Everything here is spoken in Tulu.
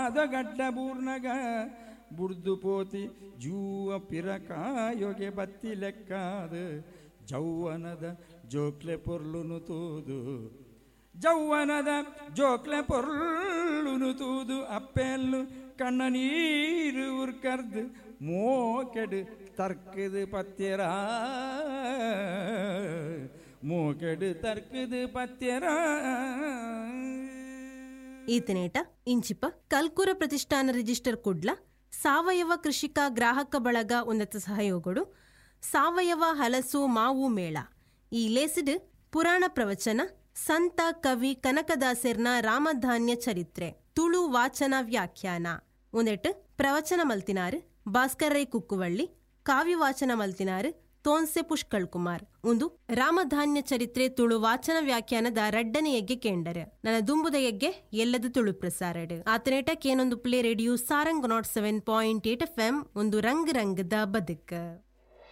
ಪಾದಗಡ್ಡ ಬೂರ್ನಗ ಬುಡ್ದು ಪೋತಿ ಜೂವ ಪಿರಕಾಯೊಗೆ ಬತ್ತಿ ಲೆಕ್ಕಾದ ಜೌವನದ ಜೋಕ್ಲೆ ಪೊರ್ಲುನು ತೂದು, ಜೌವನದ ಜೋಕ್ಲೆ ಪೊರ್ಲುನು ತೂದು ಅಪ್ಪೆಲ್ಲು ಕಣ್ಣ ನೀರು ಉರ್ಕರ್ದು ಮೋಕೆಡು ತರ್ಕದು ಪತ್ಯರ, ಮೋಕೆಡು ತರ್ಕದು ಪತ್ಯರ. ಈತನೇಟ ಇಂಚಿಪ ಕಲ್ಕೂರ ಪ್ರತಿಷ್ಠಾನ ರಿಜಿಸ್ಟರ್ ಕುಡ್ಲ ಸಾವಯವ ಕೃಷಿಕ ಗ್ರಾಹಕ ಬಳಗ ಉನ್ನತ ಸಹಯೋಗಡು ಸಾವಯವ ಹಲಸು ಮಾವು ಮೇಳ ಈ ಲೇಸಿಡ್ ಪುರಾಣ ಪ್ರವಚನ, ಸಂತ ಕವಿ ಕನಕದಾಸೆರ್ನ ರಾಮಧಾನ್ಯ ಚರಿತ್ರೆ ತುಳು ವಾಚನ ವ್ಯಾಖ್ಯಾನ ಉಂದೆಟ್ ಪ್ರವಚನ ಮಲ್ತಿನಾರು ಭಾಸ್ಕರ್ ರೈ ಕುಕ್ಕುವಳ್ಳಿ, ಕಾವ್ಯ ವಾಚನ ಮಲ್ತಿನಾರು ತೋನ್ಸೆ ಪುಷ್ಕಳ್ ಕುಮಾರ್. ಉಂದು ರಾಮಧಾನ್ಯ ಚರಿತ್ರೆ ತುಳು ವಾಚನ ವ್ಯಾಖ್ಯಾನದ ರಡ್ಡನೆ ಯಜ್ಞೆ ಕೇಂಡರು. ನನ್ನ ದುಂಬುದ ಯಜ್ಞೆ ಎಲ್ಲದ Tulu ಪ್ರಸಾರಡ್ ಆತನೇಟ ಕೇನೊಂದು play radio Sarang 107.8 FM ಒಂದು ರಂಗ್ ರಂಗದ ಬದುಕು.